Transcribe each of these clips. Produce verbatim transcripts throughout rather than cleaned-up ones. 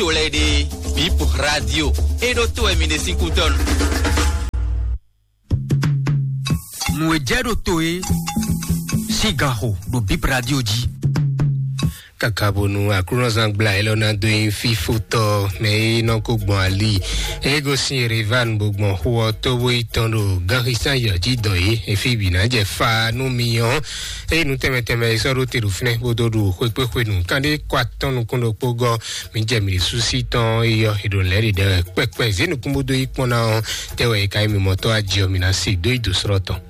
to lɛ́ɛ ɖe, Bip Radio, é ɖó to wɛ mi ɖe sín kútɔ́ nu. Nǔ e jɛ ɖo to e sín gan xo ɖo Bip Radio jí. Kaka bonu Aklúnɔzán gbla élɔ́ ná dó nyi fífótɔ́ mɛ e nɔ ko gbɔn ali, e gosín Yerevan bó gbɔn xó ɔ́ tó bó yi tɔn ɖo gánxisán yɔ̌ jí dɔn é, efi bǐ ná jɛ fa nú mi ɔ́. Eye nú tɛnmɛ tɛnmɛ e sɔ́ ɖó te ɖo fínɛ́ bó dó ɖu xwekpéxwenu kanɖé kɔ atɔn nukún ɖokpó gɔ́, mi jɛ mi ɖésú sí tɔn e yɔ è ɖo lɛ̌ ɖiɖɛ wɛ kpɛkpɛ zě nukún bó dó yi kpɔ́n ná ɔ́, tɛ wɛ è ka nyí mi mɔtɔ́ aji ɔ́, mi ná se dó yi dǒ srɔ́ tɔn.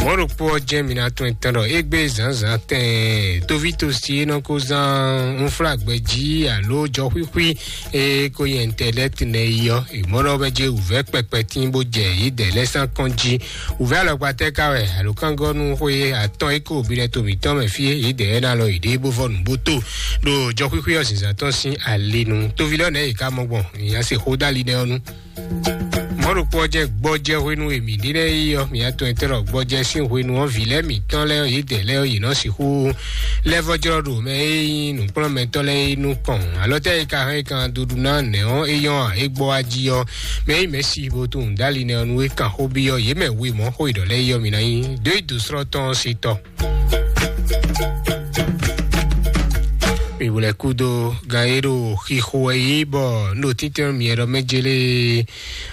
Mɔ̌ ɖokpó ɔ́ jɛ́n mi ná tunwun etɔ́n ɖɔ égbé zǎnzǎn tɛɛn tóví tosi e nɔ ko zán unflágbɛjí alo jɔxwíxwí e ko nyi ɛntɛnɛti nɛ yi ɔ́, mɔ̌ ɖɔ bɛ jɛ wǔvɛ́ kpɛkpɛ tín bó jɛ yědɛɛ lɛ́ɛ sán kɔn jí. Wǔvɛ́ alɔkpa tɛ́ ka wɛ alǒkángɔ́nú xwe atɔn e ko binɛ to mǐtɔn mɛ fí e yědɛɛ ná lɔ yěɖée bó vɔ nǔ bó to ɖo jɔxwíxwí ɔ́ zǐnzán tɔn sín ali nu. Tóví lɔ́ nɛ̌ yě ká mɔ gbɔn? Nya se xó dó ali nɛ́ ɔ́ nu. Mɔ̌ ɖokpó ɔ́ jɛ gbɔjɛ hwenu e mǐ ɖe lɛ́ɛ yi ɔ́, mǐ atɔn e tɛ́ ɖɔ gbɔjɛ sín hwenu ɔ́, vǐ lɛ́ɛ mǐtɔn lɛ́ɛ ɔ́, yědɛɛ lɛ́ɛ ɔ́, yě nɔ sixú lɛ́ vɔ́ jlɔ́ ɖo mɛ e nyí nǔkplɔ́nmɛtɔ́ lɛ́ɛ é nukɔn. Alɔ tɛ́ e ka hɛn kan duɖu ná nɛ̌ ɔ́, é nyɔ́ ǎ, é gbɔ wá jí ɔ́, mɛ e nyí Mɛ̌si bo tunwun dó ali nɛ́ ɔ́ nu é kan xó byɔ́ yě mɛ we mɔ̌ xó e ɖɔ lɛ́ɛ yi ɔ́, mi ná nyí dó yi dǒ srɔ́ tɔn ɔ́ se tɔ. Mi wlɛ kúdó gan e ɖo xixo wɛ yí bɔ un ɖo títɛn myɛ ɖɔ mɛ jélé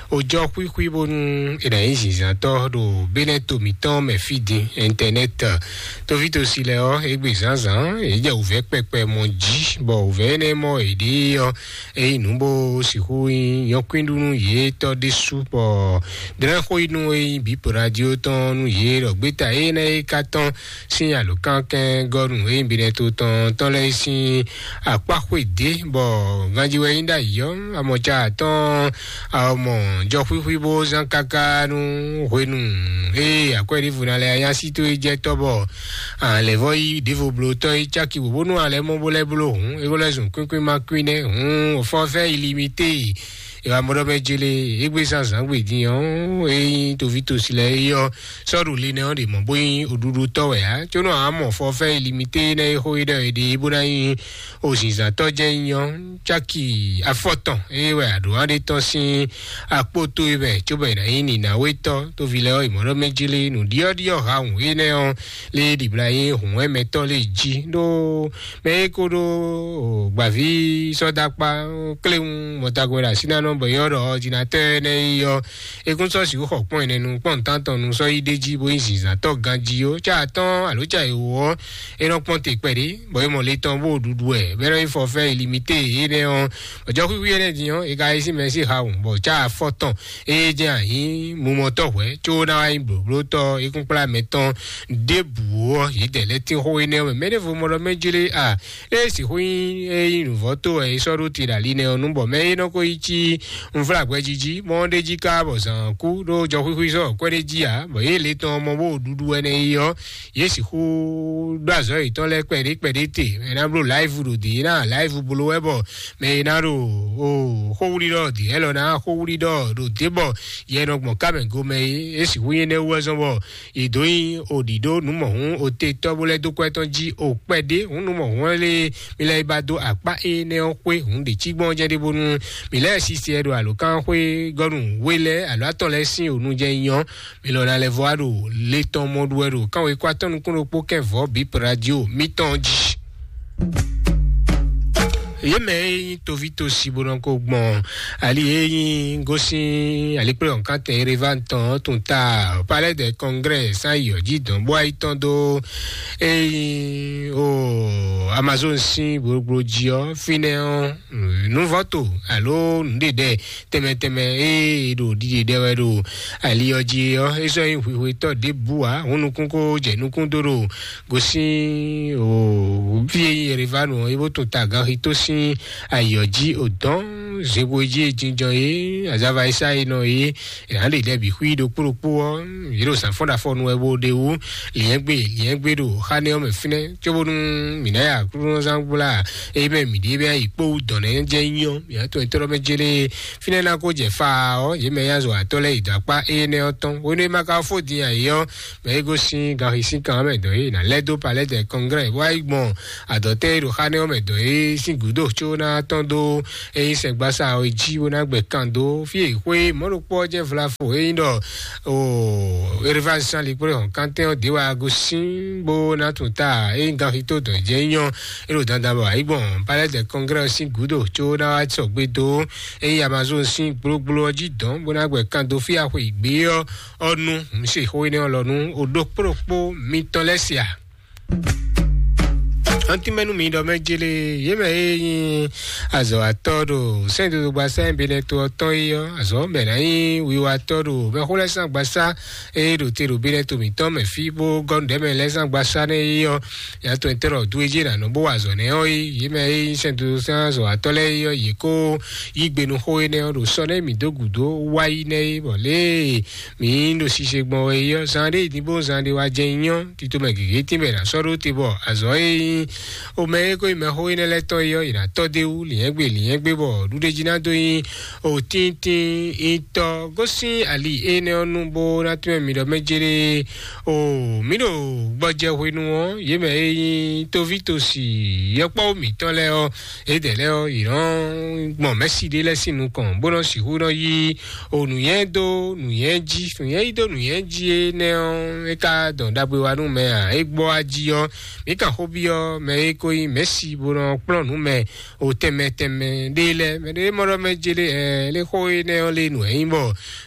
ojɔ xwíxwí bónú è nǎ nyí zǐnzántɔ́ ɖo Benɛ́to mǐtɔn mɛ fí din, ɛntɛnɛ́t. Tovítɔ́si lɛ́ɛ ɔ́, égbé zǎnzǎn yě jɛ wǔvɛ́ kpɛkpɛ mɔ jí, bɔ wǔvɛ́ énɛ́ mɔ yě ɖe ɔ́, é nyí nǔ bó sixú nyí nyɔ̌kwín nú yě tɔ́ ɖésú, bɔ dlɛ́n xó yi nú é nyí bǐ radio tɔn nú yě ɖɔ gbéta énɛ́ e ka tɔn sín alǒkankɛngɔ́nu e nyí Benɛ́to tɔn tɔn lɛ́ɛ sín akpá xwedě, bɔ ganjí wɛ nyí ɖ'ayǐ ɔ́, amɔ̌ ca atɔ́ɔ́n, amɔ̌ jɔ xwíxwí bó zán káká nú hwenu e akwɛ́ ɖěvo ná lɛ́ nya sí tó e jɛ tɔ́, bɔ alɛ̌vɔ́ yí ɖěvo bló tɔ́ e cáki wǒ bónú alɛ̌ mɔ bó lɛ́ bló hǔn, é ko lɛ́ zun kwínkwín ma kwín nɛ́ hǔn, fɔ́fɛ́ illimité. È wá mɔ ɖɔ mɛ jele égbé zán zǎn gbe din ɔ́, é nyí tovítɔ́si lɛ́ɛ é ɔ́, sɔ́ ɖo linɛ ɔ́ ɖě mɔ bó nyí oɖuɖutɔ́ wɛ ǎ, có nɔ ǎ mɔ fɔfɛ́ illimité énɛ́ e xó é ɖɔ è ɖe é bó ná nyí ozinzǎntɔ́ jɛ́n nyí ɔ́, cáki afɔtɔn é wɛ aɖǒ aɖé tɔn sín akpó tó é mɛ, cóbɔ è nǎ nyí nǐnáwétɔ́. Tóvi lɛ́ɛ ɔ́, è mɔ ɖɔ mɛ jele nǔɖyɔ́ɖyɔ́ hawun énɛ́ ɔ́ lé ɖibla nyí hǔnwɛ́mɛtɔ́ lé jí ɖó mɛ e ko ɖó gbǎví sɔ́dákpá kléwún mɔtagbɛn ɖo asínánɔ bɔ yɔ́ ɖɔ ɔdinatɔ́ énɛ́ yi ɔ́, é kún sɔ́ sixú xɔ kpɔ́n ɛnɛ nu kpɔ́n nǔtántɔn nu sɔ́ yi ɖ'é jí bó nyí zǐnzǎntɔ́ ganjí ó. Cá atɔ́ɔ́n alo cá ewo ɔ́, é nɔ kpɔ́n te kpɛɖé, bɔ é mɔ le tɔn bó ɖuɖu wɛ, bɔ é nɔ nyí fɔfɛ́ illimité énɛ́ ɔ́, bɔ jɔxwíxwí énɛ́ din ɔ́, é ka yi sín mɛ sín hawun, bɔ cá afɔtɔn é jɛ ayǐ mumɔtɔ́ hwɛ̌, có ná wá nyí blǒblótɔ́ é kún kplá mɛ tɔn ɖěbǔ ɔ́, yě dɛ lɛ́ tín xó énɛ́ ɔ́ mɛ. Mɛ ɖěvo mɔ ɖɔ mɛ jlé a, é sixú nyí é nyí nǔvɔ́ tó wɛ é sɔ́ ɖó te ɖo ali nɛ́ ɔ́ nu, bɔ mɛ e nɔ ko yi cí unflágbɛjí jí, mɔ ɔ́ ɖ'é jí ká bɔ zǎn kú ɖó jɔxwíxwí sɔ́ kwɛ́ ɖé jí ǎ, bɔ yě le tɔn mɔ bó ɖuɖu wɛ nɛ́ yi ɔ́, yě sixú ɖó azɔ̌ yětɔn lɛ́ɛ kpɛɖé kpɛɖé te. Mɛ ná bló live ɖo dě ná live bló wɛ, bɔ mɛ e ná ɖo o xówlí ɖɔ dě, ɛlɔ ná xówlí ɖɔ ɖo dě, bɔ yɛ nɔ gbɔn ká mɛ go mɛ é, é sixú nyí énɛ́ wú wɛ zɔ́n bɔ yě dó nyí òɖǐɖó nǔmɔhún otetɔ́ bó lɛ́ dó kwɛ́ tɔn jí o kpɛɖé hǔn nǔmɔhún ɔ́ lé mi lɛ́ yi ba dó akpá énɛ́ ɔ́ xwé hǔn ɖě cí gbɔn jɛ́n ɖěbónú mi lɛ́ sisi ɛ ɖo alǒkanxwé gɔ́nu we lɛ́ɛ alo atɔn lɛ́ɛ sín ònu jɛ nyɔ. Mi lɔ ná lɛ́ vɔ wá ɖo le tɔn mɔ ɖu wɛ ɖo kánwé kó atɔ́ nukún ɖokpó kɛ́ vɔ̌ bǐ radio mítɔn jí. Yě mɛ e nyí tovítɔ́si bó nɔ ko gbɔn ali e nyí gosín alikplɔ́nkantɛ Yerevan tɔn tun ta Palais de Congrès sán yi ɔ́ jí dɔn bó wá yi tɔn dó e nyí o Amazon sín gblogblo jí ɔ́, fínɛ́ ɔ́, nǔvɔ́to alo nǔɖeɖɛ tɛnmɛ tɛnmɛ e ɖo ɖiɖe ɖɛ wɛ ɖo ali ɔ́ jí ɔ́, é sɔ́ nyí hwihwetɔ́ ɖěbǔ ǎ. Hǔn nukún ko jɛ nukún dó ɖo gosín o fí e nyí Yerevan ɔ́, é bó tun ta ganxi tó sín ayǐ ɔ́ jí o dɔn zěbo e jí e jínjɔ́n é, azava e sá e nɔ é, è nǎ ɖe lɛ́ɛ bǐ xwí ɖokpó ɖokpó ɔ́, yě ɖo zǎn fɔ́n ɖo afɔ nu wɛ bó ɖe wú, lǐɛ́ngbé lǐɛ́ngbé ɖo xá nɛ́ ɔ́ mɛ fínɛ́, cóbónú mǐ ná ya Aklúnɔzán gbla é mɛ mǐ ɖíe bɛ́ yi kpó wú dɔ̌n nɛ́ jɛ nyí ɔ́, mǐ ná tɔn nyitɔ́ mɛ jélé fínɛ́ ná ko jɛ fa ɔ́, yě mɛ nyí azɔ̌watɔ́ lɛ́ɛ yi dɔ̌ akpá énɛ́ ɔ́ tɔn. Hwenu e ma ka fó din ayǐ ɔ́, mɛ e gosín ganxisínkan ɔ́ mɛ dɔ̌n é, è nǎ lɛ́ dó Palais de Congrès bó wá yi gbɔn adɔ̌tɛ́ e ɖo xá nɛ́ ɔ́ mɛ dɔ̌n é sín gǔdo. có ná tɔn dó eyi sɛgbasa ɔ jí bó ná gbɛ kan dó fí e xwé mɔɖokpɔ jɛ vlafo eyi ɖɔ o erivazan likpɔ́ hɔn kantɛn ɔ de wa gosin bó ná tún ta eyi gan fi tó dɔn jɛ nyɔ elo dandan bɔ ayi gbɔn palais de congrès ɔ sín gúdo có ná wá sɔgbe dó eyi amazon sín gblógbló ɔ jí dɔn bó ná gbɛ kan dó fí axwe ìgbé ɔ ɔnu. Mǐ se xó énɛ́ ɔ́ lɔ nú oɖokpóɖokpó mitɔn lɛ́ɛ sia. Ɔ́n tínmɛ nú mi ɖɔ mɛ jele yě mɛ e nyí azɔ̌watɔ́ ɖo sɛ́ndodogba sɛ́n Benɛto ɔ́ tɔn é ɔ́, azɔ̌ mɛ ná nyí wiwatɔ́ ɖo mɛxó lɛ́ɛ sín agbasá e ɖo te ɖo Benɛto mǐtɔn mɛ fí bó gɔ́ nǔɖé mɛ lɛ́ɛ sín agbasá nɛ́ é ɔ́, yǎtɔn tɛ́ ɖɔ dú e jí è nǎ nɔ bó wa azɔ̌ nɛ́ ɔ́ é, yě mɛ e nyí sɛ́ndodogba sɛ́n azɔ̌watɔ́ lɛ́ɛ é ɔ́, yě kó yí gbe nú xó énɛ́ ɔ́ ɖo sɔ́ nɛ́ mǐ dó gǔdo wá yí nɛ́ é, bɔ lě e mǐ ɖo sise gbɔn wɛ é ɔ́, zan ɖé yi din bó zan ɖé wá jɛ nyɔ tito mɛ gěgé tínbɛ ná sɔ́ ɖó te bɔ azɔ̌ e nyí o mɛ e ko nyí mɛxó énɛ́ lɛ́ɛ tɔn é ɔ́, yě ná tɔ́ dó é wú lǐnyɛ́gbe lǐnyɛ́gbe bɔ ɖuɖéjí ná dó nyí o tíntín nyitɔ gosín ali énɛ́ ɔ́ nu bó ná tún mɛ mi ɖɔ mɛ jéré o mǐ ɖo gbɔjɛ hwenu ɔ́, yě mɛ e nyí tóví tosi yɔkpɔ́wú mǐtɔn lɛ́ɛ ɔ́, édɛɛ lɛ́ɛ ɔ́, yě nɔ gbɔn mɛ̌si ɖé lɛ́ɛ sín nukɔn bó nɔ sixú nɔ yí o nǔnyɛ dó nǔnyɛ jí, nǔnyɛ yí dó nǔnyɛ jí énɛ́ ɔ́, é ka dɔn ɖagbe wa nú mɛ ǎ. É gbɔ wá jí ɔ́, mǐ kan xó byɔ́ mɛ e ko nyí mɛ̌si bó nɔ kplɔ́n nǔ mɛ o tɛnmɛ tɛnmɛ ɖé lɛ́ɛ. Mɛ ɖé mɔ ɖɔ mɛ jé ɖé ɛ lé xó énɛ́ ɔ́ lé nǔ ɛ nyí bɔ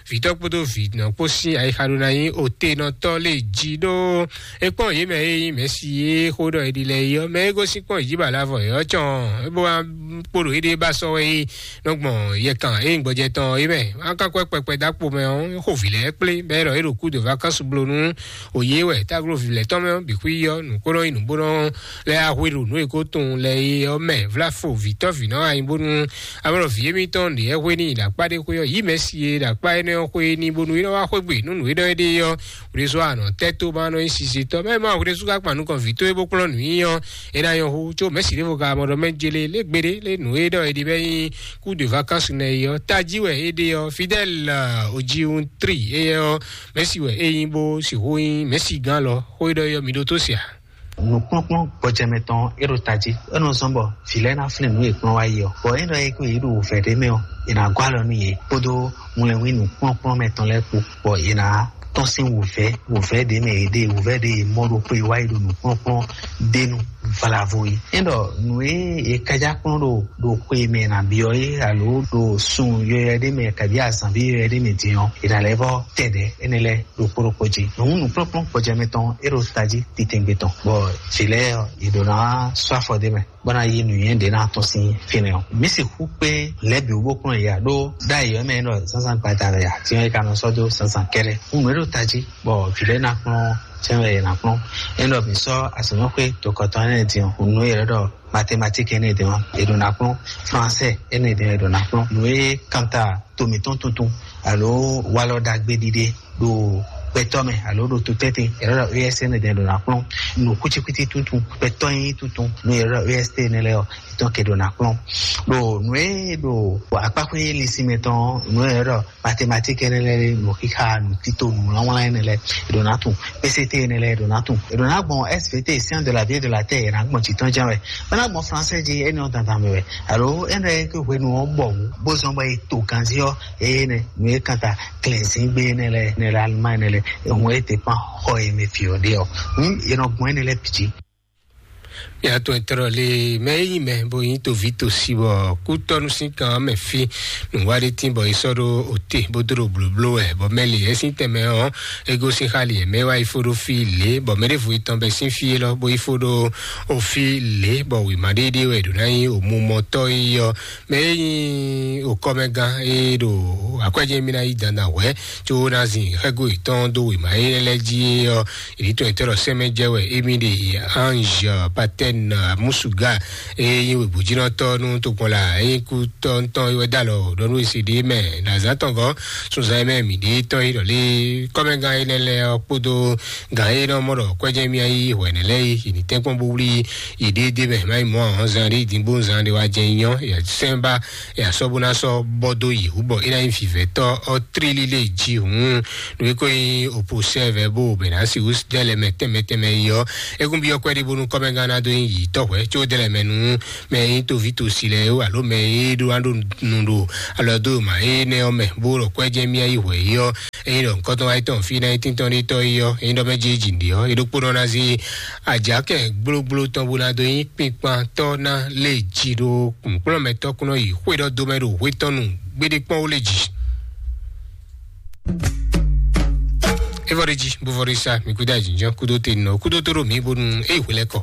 vǐtɔ́ kpódó vǐnɔ kpó sín ayixa ɖó ná nyí otenɔtɔ́ lé jí ɖó é kpɔ́n yě mɛ e nyí mɛ̌si e xó ɖɔ è ɖi lɛ é ɔ́, mɛ e gosín kpɔ́n yě jí ba la vɔ é ɔ́ cɔn é bó wá kpo ɖo éɖée ba sɔ́ wɛ é nɔ gbɔn yɛkan e nyí gbɔjɛ tɔn é mɛ. Á ká kwɛ kpɛkpɛ dó akpo mɛ ɔ́, xo vǐ lɛ́ɛ kplé bɔ é ɖɔ é ɖo kú de vacances bló nú òye wɛ táglo vǐ lɛ́ɛ tɔn mɛ ɔ́ bǐ xwí ɔ́, nǔ kó nɔ nyi nǔ bó nɔ lɛ́ axwé ɖo nǔ e ko tunwun lɛ é ɔ́ mɛ. Vlafo vǐtɔ́ vǐnɔ anyi bónú amɔ̌ vǐ émítɔn ɖě hwe n'i ɖo akpá ɖé xwé ɔ́, yǐ mɛ si e ɖo akpá énɛ́ ɔ́ xwé n'i bónú é nɔ wá xwé gbe nú nǔ énɛ́ ɖé ɔ́, wěɖé sɔ́ anɔ tɛ́ tó ma nɔ nyí sisitɔ́. Mɛ ma wěɖé sú ká kpan nukɔn vǐ tó é bó kplɔ́n nǔ nyi ɔ́, é ná nyɔ́ hú, có mɛ̌si ɖěvo ka mɔ ɖɔ mɛ jélé lé gbeɖé lé nǔ e ɖɔ è ɖi bɛ nyí kú de vacances nɛ é ɔ́, tají wɛ é ɖe ɔ́. Fidèle ojiwuntri éyɛ́ ɔ́, mɛ̌si wɛ é nyí bó sixú nyí mɛ̌si gán lɔ. Xó e ɖɔ é ɔ́, mi ɖótó sia. Nǔkplɔ́nkplɔ́n gbɔjɛmɛ tɔn e ɖo tají, é nɔ zɔ́n bɔ vǐ lɛ́ɛ ná flín nǔ e kplɔ́n wá yi ɔ́, bɔ é ɖɔ é ko yě ɖo wǔvɛ́ ɖé mɛ ɔ́, è nǎ gɔ́ alɔ nú yě kpódó ŋlɛnwín nǔkplɔ́nkplɔ́n mɛ tɔn lɛ́ɛ kpó, bɔ yě ná tɔ́n sín wǔvɛ́, wǔvɛ́ ɖě mɛ yě ɖe, wǔvɛ́ ɖě yě mɔ ɖokpó e wá yi ɖo nǔkplɔ́nkplɔ́n ɖé nu valavo yi. É ɖɔ nǔ e è kájá kplɔ́n ɖo ɖo xwe mɛ è nǎ byɔ́ é alo ɖo sun yɔyɔ ɖé mɛ kabí azǎn bí yɔyɔ ɖé mɛ din ɔ́, è nǎ lɛ́ vɔ́ tɛ ɖɛ̌ énɛ́ lɛ́ɛ ɖokpó ɖokpó jí. Nǔ nǔkplɔ́nkplɔ́n gbɔjɛmɛ tɔn é ɖo tají titɛngbé tɔn, bɔ vǐ lɛ́ɛ ɔ́, yě ɖó ná sɔ́ afɔ ɖé mɛ bó ná yí nǔnywɛ́ ɖě ná tɔ́n sín fínɛ́ ɔ́. Mǐ sixú kpé lɛ̌ bǐ wú bó kplɔ́n yě ǎ, ɖó ɖ'ayǐ ɔ́ mɛ é nɔ zǎnzǎn gbada wɛ ǎ, din ɔ́ é ka nɔ sɔ́ dó zǎnzǎn kɛ́ɖɛ́. Hǔn nǔ e ɖo tají bɔ vǐ lɛ́ɛ ná kplɔ́n, sɛ́n wɛ è nǎ kplɔ́n. É nɔ mǐ sɔ́ azɔ̌mɛxwé tokɔtɔn énɛ́ din ɔ́, hǔn nǔ e è ɖɔ ɖɔ mathématique énɛ́ din ɔ́, è ɖǒ ná kplɔ́n. Français énɛ́ din ɔ́, è ɖǒ ná kplɔ́n. Nǔ e kanta to mǐtɔn tuntun alo walɔ ɖagbe ɖiɖe ɖo gbɛtɔ́ mɛ alo ɖo to tɛ́ntin, è nɔ ɖɔ E S N ɖɛ ɖo ná kplɔ́n. Nǔ kwítíkwítí tuntun, gbɛtɔ́ nyí tuntun, nú è nɔ ɖɔ E S T nɛ lɛ́ɛ ɔ́, è tɔ́n ke ɖo ná kplɔ́n. Ɖo nǔ e ɖo akpáxwé linsin mɛ tɔn ɔ́, nǔ e è nɔ ɖɔ mathématique nɛ lɛ́ɛ, nǔ xixa, nǔ tito, nǔ wlánwlán nɛ lɛ́ɛ, è ɖo ná tunwun. P C T nɛ lɛ́ɛ è ɖo ná tunwun. È ɖo ná gbɔn S V T, science de la vie et de la terre, è nǎ gbɔn jǐ tɔn jɛ́n wɛ. Bó ná gbɔn français jí, énɛ́ ɔ́ dandan mɛ wɛ. Alo énɛ́ e hwenu ɔ́ bɔ wǔ, bó zɔ́n bɔ è to ganjí ɔ́, énɛ́ nǔ e kanta klɛ̌nzíngbe énɛ́ lɛ́ɛ, énɛ́ lɛ́ɛ Allemagne énɛ́ lɛ́ɛ, ehun e dépend xɔ e mɛ fi ɔ́ ɖe ɔ́, hǔn è nɔ gbɔn énɛ́ lɛ́ɛ bǐ jí. Mia tɔn e tlɔ le mɛ e nyi mɛ bo nyi tovi tosi bɔ kútɔnu sín kan mɛ fi nǔwa ɖé tín bɔ e sɔ́ ɖó òte bó dó ɖo blǒbló wɛ bɔ mɛ li ɛ sín tɛnmɛ ɔ́, ego sín xa li ɛ mɛ wá yi fó ɖó fí lě bɔ mɛ ɖěvo etɔn bɛ sín fí élɔ́ bó yi fó ɖó òfí lě bɔ wěma ɖéɖé wɛ ɖǒ ná nyí òmumɔtɔ́ yi ɔ́. Mɛ e nyí òkɔmɛgán e ɖo akwɛ́jɛ mì ná yi dandan hwɛ̌, có ná zin xɛ́go yětɔn dó wěma énɛ́ lɛ́ɛ jí é ɔ́, ìdítɔn yětɔn ɖɔ sɛ́mɛ jɛ wɛ émí ɖe. Ange Patɛn Musuga e nyí wěbǔjínɔtɔ́ nú tokpɔnla e nyí kútɔ́ntɔn é wɛ dó alɔ ɖɔ nú esi ɖé mɛ ɖo azǎn tɔn gɔ́ sunzan e mɛ mǐ ɖe tɔn yi ɖɔ lé kɔ́mɛgán énɛ́ lɛ́ɛ ɔ́ kpódó gǎn e nɔ mɔ ɖɔ kwɛ́jɛ mì ayí hwɛ̌nɛ lɛ́ɛ yi yě ní tɛ́nkpɔ́n bó wlí yě ɖéédéé mɛ má yi mɔ ahɔn zan ɖé dín bó zan ɖé wá jɛ nyɔ yě sɛn ba yě asɔ bó ná sɔ bɔ dó yě wú bɔ é ná nyí vǐvɛ́tɔ́ ɔ́ tlílí lé jí hǔn nú é ko nyí òpo sɛ́vɛ bó bɛ ná si wú dɛ́ lɛ mɛ tɛnmɛ tɛnmɛ yi ɔ́. É kún byɔ́ kwɛ́ ɖé bónú kɔ́mɛgán ná dó nyi yǐtɔ́ hwɛ̌ có dɛ́ lɛ́ɛ mɛ nú mɛ e nyí toví tosi lɛ́ɛ ó, alo mɛ e ɖó ná ɖo nu ɖo alɔ dó mǎ énɛ́ ɔ́ mɛ, bó ɖɔ kwɛ́ jɛ́n mì yi hwɛ̌ é ɔ́, ényí ɖɔ nukɔntɔn wá yi tɔn fí ná yi tíntɔ́n ɖé tɔ́ é ɔ́, ényí ɖɔ mɛ jí jǐ ɖe ɔ́, é ɖokpónɔ ná zé ajakɛ gblógbló tɔn bó ná dó nyí kpinkpantɔ́ ná lé jí ɖó nǔkplɔ́nmɛtɔ́ kúnɔ yi xwé ɖɔ dó mɛ ɖo hwé tɔn nu gbéɖé kpɔ́n ó lé jí. É vɔ ɖé jí, bó vɔ ɖé sá, mi kúdó ajínjɔ́n kúdó te nɔ kúdó tó ɖo mǐ bónú é yi hwelɛ́kɔ.